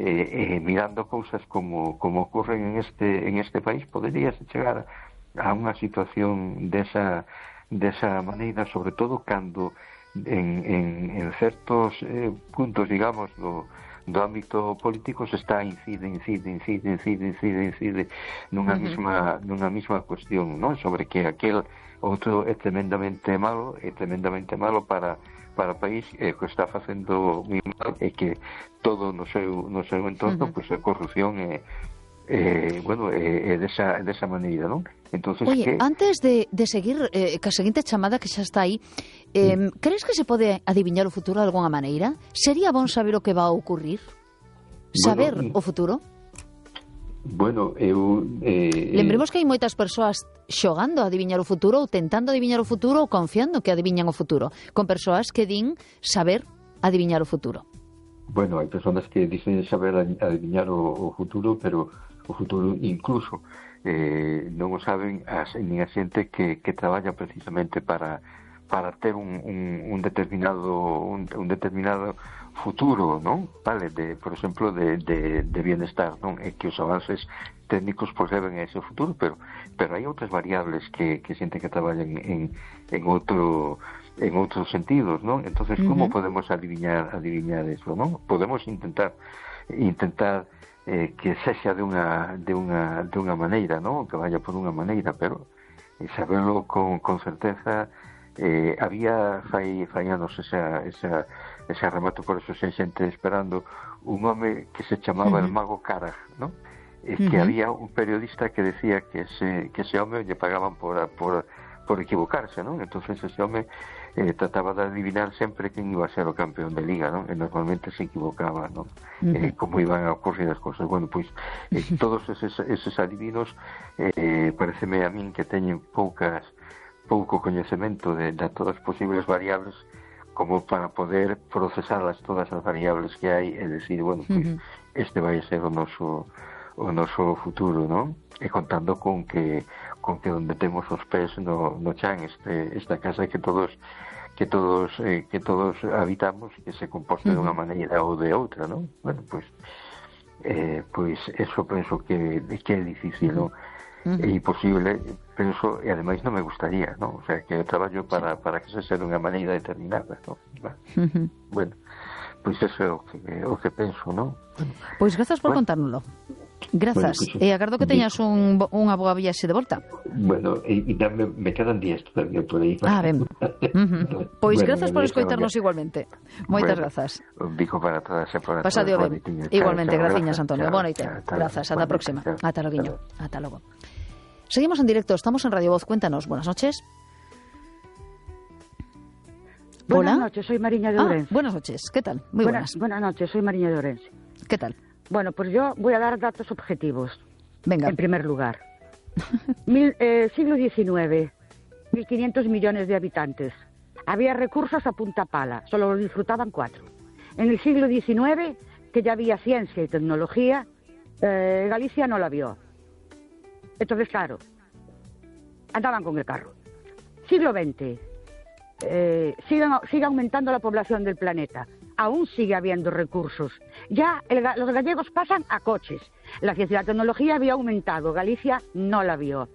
mirando cousas como ocurren en este país, poderías chegar a unha situación desa maneira, sobre todo cando en certos puntos, digamos, do ámbito político se está incide nunha mesma cuestión, non? Sobre que aquel outro é tremendamente malo para o país, que está facendo moi mal, e que todo no seu entorno, pois a corrupción é desa maneira, non? Entonces, oye, antes de seguir ca seguinte chamada que xa está aí, crees que se pode adiviñar o futuro de alguna maneira? Sería bon saber o que va a ocurrir? Saber o futuro? Bueno, lembremos que hai moitas persoas xogando a adiviñar o futuro, ou tentando adiviñar o futuro, ou confiando que adiviñan o futuro, con persoas que din saber adiviñar o futuro. Bueno, hai persoas que dicen saber adiviñar o futuro, pero o futuro incluso non o saben nin a xente que traballa precisamente para ter un determinado futuro, non? Vale, por exemplo, de bienestar, non? É que os avances técnicos poseben ese futuro, pero hai outras variables que xente que traballan en outros sentidos, non? Entonces, como podemos adiviñar eso, non? Podemos intentar que sexa de unha maneira, non? Que vaya por unha maneira, pero saberlo con certeza. Había fai anos ese remato, por eso sei xente esperando un home que se chamaba el mago Karag, non? Que había un periodista que decía que ese home lle pagaban por equivocarse, non? Entonces ese home trataba de adivinar sempre quen iba a ser o campeón de liga, non? E normalmente se equivocaba, non? Como iban a ocurrir as cosas. Bueno, pois todos eses adivinos pareceme a min que teñen pouco coñecemento de todas as posibles variables como para poder procesarlas todas as variables que hai e decir, bueno, pois este vai ser o noso futuro, non? E contando con que onde temos os pés no chan, esta casa que todos habitamos, que se composte de unha maneira ou de outra, non? Bueno, pois eso penso que é difícil, non? É imposible, penso, e ademais non me gustaría, non? O sea, que eu traballo para que se sea de unha maneira determinada, non? Bueno, pois eso é o que penso, non? Pois grazas por contárnoslo. Grazas, e agardo que teñas unha boa viaxe de volta. Bueno, e me quedan días todavía por aí. Ben. Pois grazas por escoitarnos igualmente. Moitas grazas. Un bico para todas e para todas. Pasade ben. Igualmente, graciñas, Antonio. Boa noite. Grazas, ata a próxima. Ata loguiño. Ata logo. Seguimos en directo, estamos en Radio Voz. Cuéntanos, buenas noches. Buenas noches, soy Mariña de Ourense. Buenas noches, ¿qué tal? Muy buenas. Buenas noches, soy Mariña de Ourense. ¿Qué tal? Bueno, pues yo voy a dar datos objetivos. Venga. En primer lugar. Siglo XIX, 1.500 millones de habitantes. Había recursos a punta pala, solo los disfrutaban 4. En el siglo XIX, que ya había ciencia y tecnología, Galicia no la vio. Entonces, claro, andaban con el carro. Siglo XX, sigue aumentando la población del planeta. Aún sigue habiendo recursos. Ya los gallegos pasan a coches. La ciencia y la tecnología había aumentado. Galicia no la vio.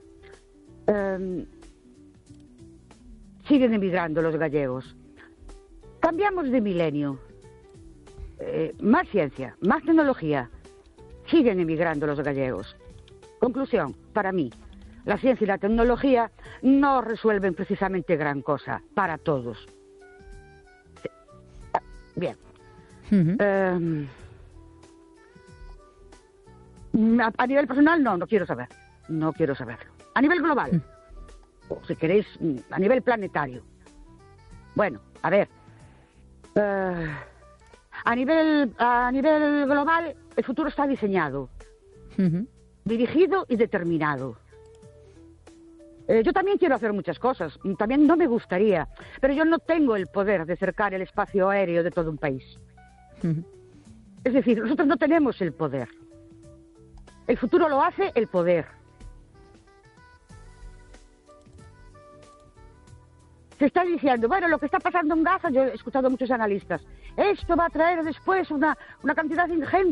Siguen emigrando los gallegos. Cambiamos de milenio. Más ciencia, más tecnología. Siguen emigrando los gallegos. Conclusión, para mí, la ciencia y la tecnología no resuelven precisamente gran cosa para todos. Bien. A nivel personal, no quiero saber. No quiero saberlo. A nivel global, o si queréis, a nivel planetario. Bueno, a ver. A nivel global, el futuro está diseñado, dirigido y determinado. Yo también quiero hacer muchas cosas, también no me gustaría, pero yo no tengo el poder de cercar el espacio aéreo de todo un país. Es decir, nosotros no tenemos el poder. El futuro lo hace el poder. Se está diciendo, bueno, lo que está pasando en Gaza, yo he escuchado a muchos analistas, esto va a traer después una cantidad ingente